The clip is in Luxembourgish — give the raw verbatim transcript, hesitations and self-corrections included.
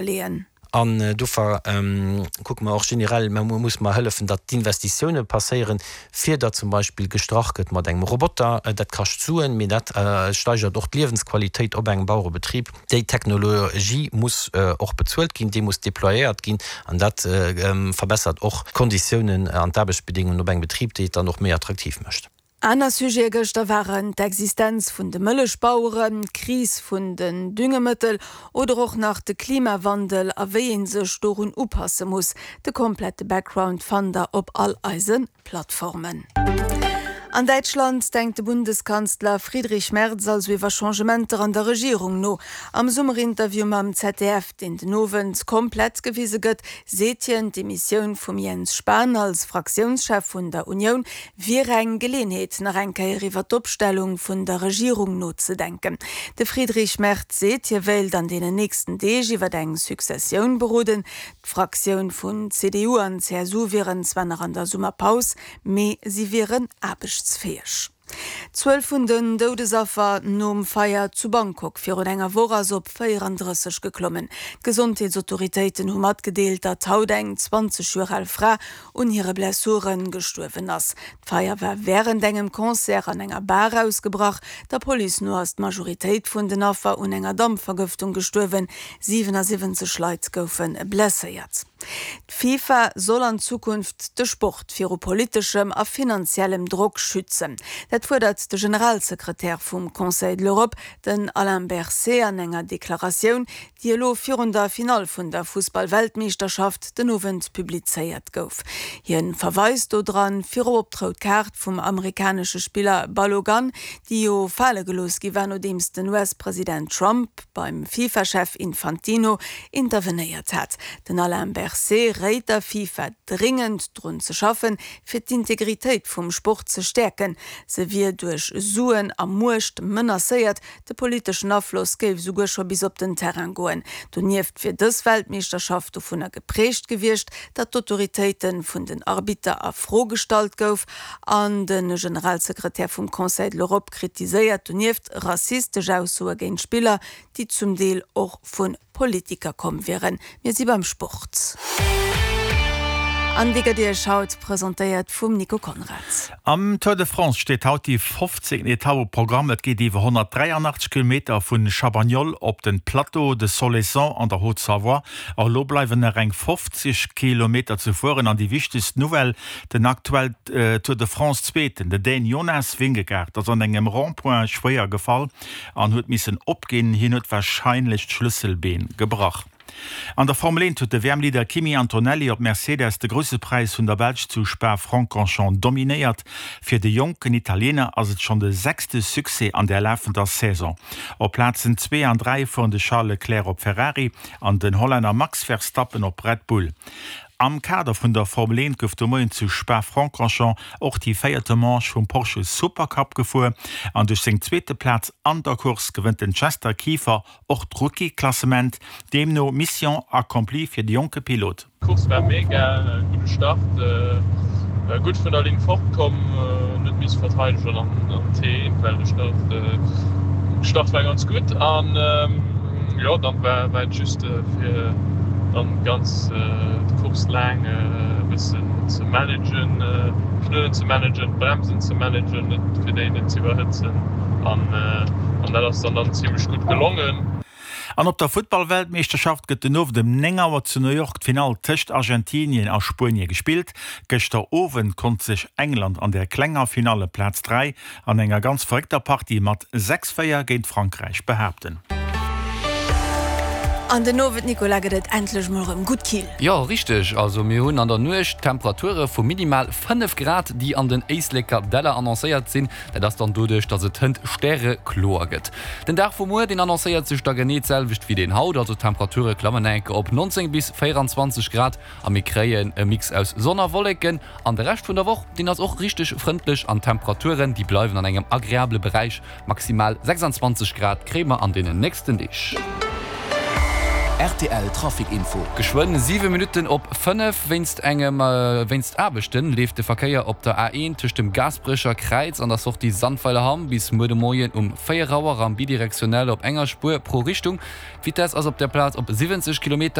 Leeën. An dofir kucke mer och generell, mer muss mer hëllefen, datt d'Investitioune passéieren, fir datt zum Beispill gestrach gëtt mat engem Roboter. Dat kascht Suen, mee dat steigert och d'Liewensqualitéit op engem Bauerebetrib. Déi Technologie muss och bezuelt ginn, déi muss déployéiert ginn an dat verbessert och d'Konditiounen an d'Aarbechtsbedingungen op engem Betrib, déi et dann och méi attraktiv mécht. Aner Sujete gëschter waren d'Existenz vun de Mëllechbaueren, d'Kris vun den Düngemëttel oder och nach de Klimawandel a wéi ee sech dorun upasse muss. De komplette Background fannt der op all eise Plattformen. An Däitschland denkt de Bundeskanzler Friedrich Merz also iwwer Changementer an der Regierung no. Am Summerinterview mam Z D F, deen den Owend komplett gewise gëtt, seet hien, d'Demissioun vum Jens Spahn als Fraktiounschef vun der Unioun wier eng Geleeënheet, nach eng Kéier iwwer d'Opstellung vun der Regierung nozedenken. De Friedrich Merz seet, hie wéilt an deenen nächsten Deeg iwwer eng Successioun beroden. D'Fraktioun vun C D U an C S U wieren zwar nach an der Summerpaus, mee si wieren aarbechtsfäeg. D'Zuel vun den Doudesaffer nom Feier zu Bangkok virun enger Woch ass op véierandrësseg geklommen. D'Gesondheetsautoritéiten hu matgedeelt, datt haut eng zwanzeg Joer al Fra un hire Blessure gestuerwen ass. D'Feier war wärend engem Concert an enger Bar ausgebrach. Der Police no ass d'Majoritéit vun den Affer un enger Dampvergëftung gestuerwen. siwenasiwwenzeg Leit goufe blesséiert. D'FIFA soll an Zukunft de Sport viru politeschem a finanziellem Drock schützen. Dat fuerdert de Generalsekretär vum Conseil de l'Europe, den Alain Berset, an enger Deklaratioun, déi elo virun der Finall vun der Fussball-Weltmeeschterschaft den Owend publizéiert gouf. Hien verweist do dran virop op d'rout Kaart vum amerikanesche Spiller Balogun, déi jo fale gelooss gi war, nodeems den U S-President Trump beim FIFA-Chef Infantino intervenéiert hat. Den Alain Berset réit der FIFA dringend drun ze schaffen, fir d'Integritéit vum Sport ze stäerken. Se wier duerch Suen a Muecht menacéiert, de politeschen Afloss géif souguer scho bis op den Terrain goen. Donieft wier dës Weltmeeschterschaft dovunner gepräägt gewiescht, datt d'Autoritéit vun den Arbitter a Fro gestallt gouf, an de Generalsekretär vum Conseil de l'Europe kritiséiert donieft rassistesch Aussoe géint Spiller, déi zum Deel och vu Politiker komm wieren. Mir si beim Sport. An déi gëtt Iech haut presentéiert vum Nico Conrad. Am Tour de France steet haut déi fofzéngten Etapp um Programm. Et geet iwwer honnertdräianachtzeg Kilometer vun Chabagnol op den Plateau de Solaison an der Haute-Savoie. Och elo bleiwen nach eng fofzeg Kilometer ze fueren an déi wichtegst Nouvelle, den aktuell Tour de France Zweeten, den Dän Jonas Vingegaard, ass an engem Rond-point schwéier gefall an huet missen opginn. Hien huet warscheinlech d'Schlësselbeen gebrach. An der Formel eent huet de W M-Leader Kimi Antonelli op Mercedes de Grousse Präis vun der Belsch zu Spa-Francorchamps dominéiert. Fir de jonken Italiener ass et schonn de sechste Succès an der lafender Saison. Op Plazen zwee an dräi fueren de Charles Leclerc op Ferrari an den Hollänner Max Verstappen op Red Bull. Am Kader vun der Formel eent gouf de Moien zu Spa-Francorchamps och déi véierte Manche vum Porsche Supercup gefuer an duerch seng zweete Plaz an der Course gewënnt den Chester Kieffer och d'Rookie-Klassement. Deemno Mission accomplie fir de jonke Pilot. D'Course war mega, gudde Start, gutt vun der Linn fort komm, net misse verteidegen an T well de Start de Start war ganz gutt an jo dann war war et just fir dann ganz d'Course laang e bëssen ze managen, Pneuen ze managen, d'Bremsen ze managen, net fir déi net ze iwwerhëtzen an an dat ass dann dann zimmlech gutt gelongen. An op der Futtball-Weltmeeschterschaft gëtt den Owend ëm néng Auer zu New York d'Finall tëscht Argentinien a Spuenie gespillt. Gëschter Owend konnt sech England an der klenger Finalle Plaz dräi an enger ganz verréckter Partie mat sechs, véier géint Frankräich behaapten. An den Owend, Nicolas, gëtt et endlech mol erëm gutt kill. Jo, richteg. Also mir hunn an der Nuecht Temperature vu minimal fënnef Grad, déi an den Éisleker Däller annoncéiert sinn. Dat ass dann doduerch, dass et hënt stärekloer gëtt. Den Dag vu muer, deen annoncéiert sech da genee d'selwecht wéi deen haut. Also d'Temperature klammen enk op neunzéng bis véierundzwanzeg Grad a mir kréien e Mix aus Sonn a Wolleken. An de Rescht vun der Woch, deen ass och richteg frëndlech an d'Temperaturen, déi bleiwen an engem agreabele Beräich. Maximal sechsanzwanzeg Grad kréie mer an deenen nächsten Deeg. Rtl Trafic Info. Geschwënn siwe Minutten op fënnef. Wéinst engem wéinst Aarbechte leeft de Verkéier op der A een tëscht dem Gaasperecher Kräiz an der Sortie Sandweilerhamm bis muer de Moien um véier Auer am bidirektionell op enger Spuer pro Richtung. D'Vitess ass op der Plaz op siwwenzeg Kilometer.